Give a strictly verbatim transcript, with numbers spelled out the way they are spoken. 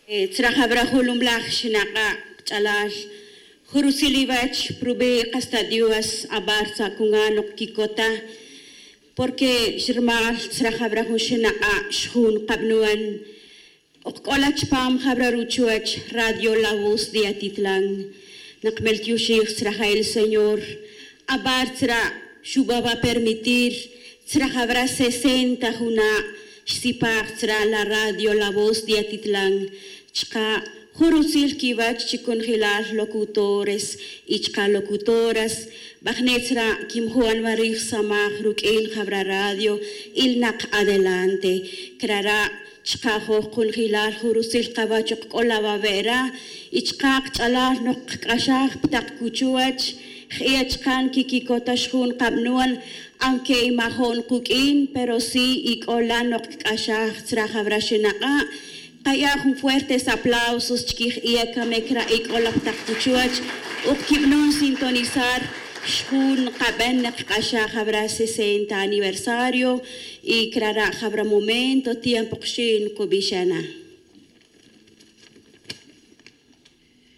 Tzra jawra julumlaj xinak'a' kch'alal, jun rutzil iwach prubi' qas ta dios abar tzra' kungan ok kikota. Porke xirmal tzra jawra jun xinak'a' xjun qabnuan. Ok k'ola chpam jawra ruchuach radio la voz de atitlan. Naqmel tiyuxij tzra ja el señor, abar tzra' xuba va permitir tzra jawra sesenta juna' xsipaj tzra la radio la voz de atitlan. Chka' jun rutzil kiwach chi kunjilal locutores y chka locutoras. Bajne' tzra' kimjuan wa rij samaj ruq'uin jawra radio. Ilnak adelante. Crara' chka' joj kunjilal jun rutzil kawach ok k'ola wawe'ra. Y chka' kch'alal nok kc'axaj pi tak kuchuwach. J'iya' chka' nkikikotax jun kab'nuan. Aunque y majo'n kuq'uin pero si y k'ola nok kc'axaj tzra jawra xinak'a'. Kaya' jun fuertes aplausos chkij iye' kame kra' ik'ol ap taq kuchuwach. Uk'ib'non sintonizar xjun kab'en neq k'axaj abra sesenta aniversario. Y krara' jabra momento tiempo qxin kub'ixana.